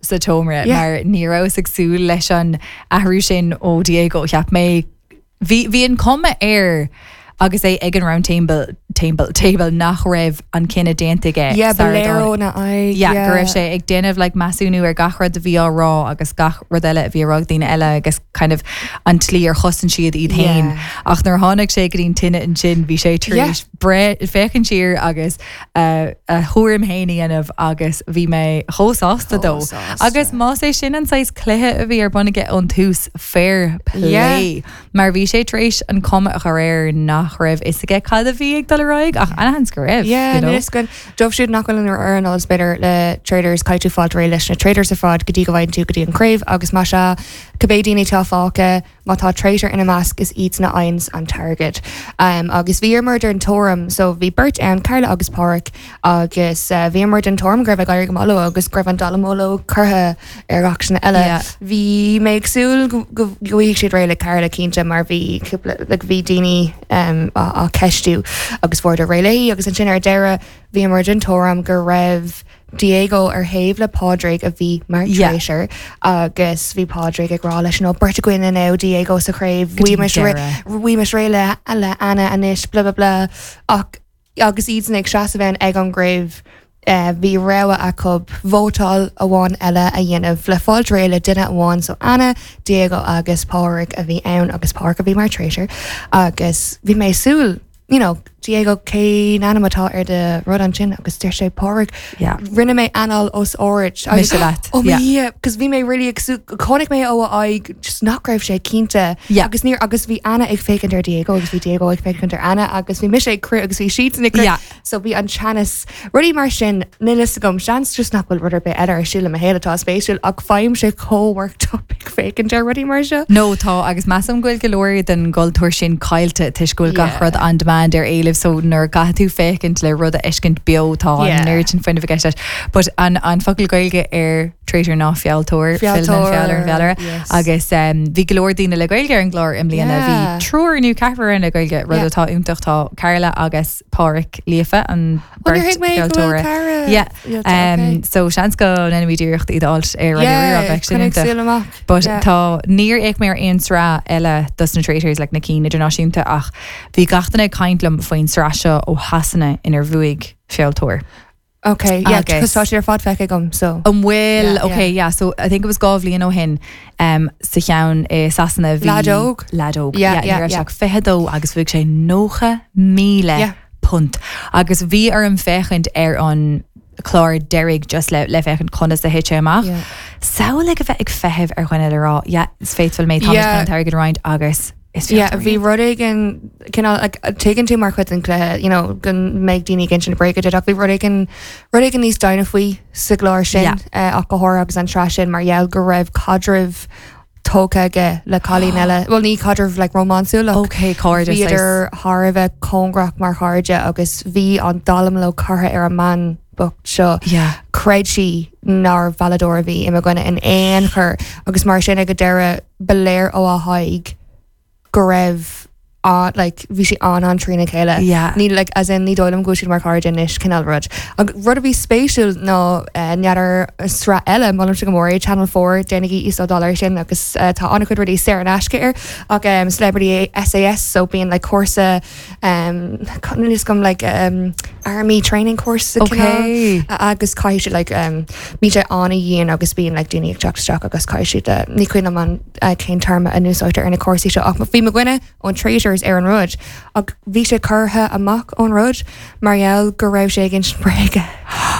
sa tseomra mar ní rabhas ag súil leis an athrú sin ó Diego. Cheap mé, bhí, bhí an cuma air agus é ag an round table, table, table nach raibh an cinneadh déanta aige. Yeah, ba léir óna aghaidh. Yeah, go raibh sé ag déanamh like measúnú ar gach rud a bhí á rá agus gach rud eile a bhí á rá ag daoine eile agus kind of an tslí ar chosain siad iad féin. Ach nuair a tháinig sé go dtí an tine ansin bhí sé tar éis breith, féachaint siar agus a thuairim féin a dhéanamh agus bhí mé chomh sásta dó. Agus más é sin an saghas cluiche a bhí ar bun aige ón tús, fair play. Mar bhí sé tar éis an cuma a chur air nach raibh fhios aige cad a bhí ag dul ar aghaidh ach an-sheans go raibh, you know. Yeah, dóibh siúd nach bhfuil ar an eolas b'fhéidir le Traitors caithfidh tú fáil réidh leis na Traitors ar fad go dtí go bhfaigheann tú go dtí an craobh agus más ea cibé daoine atá fágtha Má tá traitor ina measc is iadsan a fhaigheanns an t-airgead. Agus bhíomar den tuairim, so bhí beirt ann, Carla agus Páraic, agus bhíomar den tuairim go raibh ag éirí go maith leo agus go raibh an dallamullóg curtha ar gach duine eile. Bhí mé ag súil go bhfaighidh siad réidh le Carla cinnte mar bhí cúpla, like bhí daoine á ceistiú agus fuaireadar réidh léi agus ansin ar deireadh bhíomar den tuairim go raibh Diego ar thaobh le Pádraig a bhí mar traitor agus bhí Pádraig ag rá leis, you know, beirt againn now Diego sa chraobh, bhímis réidh le le Anna anois, blah blah blah. Ach agus iadsan ag seasamh ann ag an gcraobh, bhí rogha acu vótáil amháin eile a dhéanamh le fáilt réidh le duine amháin, so Anna, Diego agus Pádraig a bhí ann agus Pádraig a bhí mar traitor agus bhí mé ag súil you know, Diego, cén ainm atá ar do rud ansin? Agus deir sé, Pádraig. Yeah. Rinne mé anáil os ard. Mise leat. Oh Yeah. yeah, cos bhí mé really ag súil, chonaic mé ó a aghaidh just nach raibh sé cinnte. Yeah. Agus níor, agus bhí Anna ag féachaint ar Diego agus bhí Diego ag féachaint ar Anna agus bhí mise ag crith agus bhí siadsan ag crith. Yeah. So bhí an teannas, rudaí mar sin, níl fhios agam, seans just nach bhfuil rud ar bith eile ar siúl i mo shaol atá spéisiúil ach faighimse chomh worked up ag féachaint ar rudaí mar seo. No, tá, agus measaim go bhfuil go leor den gcultúr sin caillte toisc go bhfuil gach rud on demand ar éileamh so nuair a caithfidh tú féachaint le rud a fheiscint beo tá an oiread sin fuinnimh i gceist leis. But an an focal Gaeilge ar traitor ná fealltóir, fealltóir feall ar an bhfeallaire yes. agus um, bhí go leor daoine le Gaeilge ar an gclár i mbliana, bhí Yeah. triúr nó ceathrar ann le Gaeilge, rud Yeah. atá iontach, tá Carla agus Páraic Líofa an Ó, níor bheirt thuig mé go bhfuil cheoltóra. Cara Yeah. líofa, Um, okay. so seans go ndéanfaimid iarracht iad a fháilt ar Raidió Yeah, Rí-Rá, bheadh sin coinnigh iontach. súil amach. But Yeah. tá, níor fhéach mé ar aon sraith eile dos na Traitors, like na cinn idirnáisiúnta ach bhí gach duine ag caint liom faoin sraith seo ó Shasana inar bhuaigh fealltóir. Ok, yeah, Agus- tá siad ar fad feicthe agam, so. An bhfuil? Yeah, Ok, yeah, so I think it was 2 bhliain ó shin um, sa cheann i Sasana bhí... Leaid óg? Leaid óg, Yeah, yeah, ní yeah, raibh sé yeah. ach 22 agus bhuaigh sé 90,000 Yeah. punt. Agus bhí orm féachaint ar an chlár deiridh just le, le féachaint conas a thit sé amach. Yeah. Samhlaigh a bheith ag feitheamh ar dhuine le rá, yeah, is faithful mé, táimid Yeah. chun an t-airgead a roinnt agus Is Yeah, féidir. bhí rud éigin cineál like, tuigeann tú mar chuid den chluiche, you know, go mbeidh daoine ag insint bréaga duit ach bhí rud éigin rud éigin níos doimhne faoi sa gclár sin Yeah. eh, ach go háirithe agus an tsraith sin mar gheall go raibh caidreamh tógtha aige le cailín eile. Well ní caidreamh like rómánsúil ach Ok, cairde saghas. bhíodar thar a bheith cóngarach mar chairde agus bhí an dallamullóg curtha ar an mbean bocht seo. Yeah. Chreid sí nár mhealladóir a bhí i mo dhuine in aon chor agus mar sin ag an deireadh ba léir ó a haghaidh go raibh an like bhí sí an-an trína chéile. Yeah. Ní like as in ní dóigh liom go bhfuil siad mar chairde anois cineál rud. Ach rud a bhí spéisiúil ná eh, n'fheadar sraith eile molaimse go mór é Channel 4 déanaigí íoslódáil air sin agus eh, tá an-chuid rudaí saor in aisce air ach um, Celebrity SAS so bíonn like cúrsa um, níl fhios agam like um, army training course Okay. cineál, agus caithfidh siad like um, bíonn sé an-dhian agus bíonn like daoine ag teacht isteach agus caithfidh siad uh, ní cuimhin liom an uh, cén téarma a n-úsáidtear ar na cúrsaí seo ach bhí mo dhuine ón Traitors ar an rud ach bhí sé curtha amach ón rud mar gheall go raibh sé ag insint bréige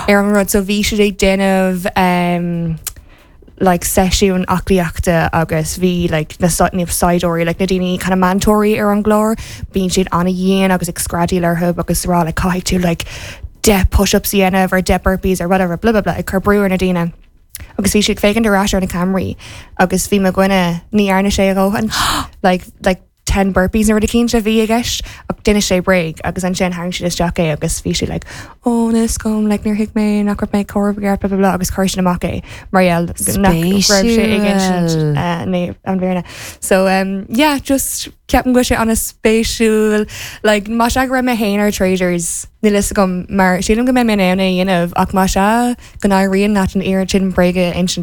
ar an rud so bhí siad ag déanamh um, like seisiún aclaíochta agus bhí like na na saighdiúirí like na daoine kind of meantóirí ar an gclár bíonn siad an-dhian agus ag screadaíl orthu agus rá like caithfidh tú like 10 push-ups a dhéanamh or 10 burpees or whatever blah blah blah ag cur brú ar na daoine agus bhí siad ag féachaint ar ais ar na ceamaraí agus bhí mo dhuine ní dhearna sé a dhóthain like like 10 burpees nó rud eicínt a bhí i gceist ach d'inis sé bréag agus ansin tharraing siad isteach é agus bhí sé like oh níl fhios agam like níor thuig mé nach raibh mé ag comhaireamh i gceart blah blah blah agus chuir siad amach é mar gheall nach raibh sé ag insint Spéisiúil. uh, né an bhfírinne. So um, yeah, just ceapaim go bhfuil sé an-spéisiúil like más ea go raibh mé féin ar Traitors níl fhios agam mar sílim go mbeidh mé in ann é a dhéanamh ach más ea go n-éiríonn leat an oiread sin bréige a insint.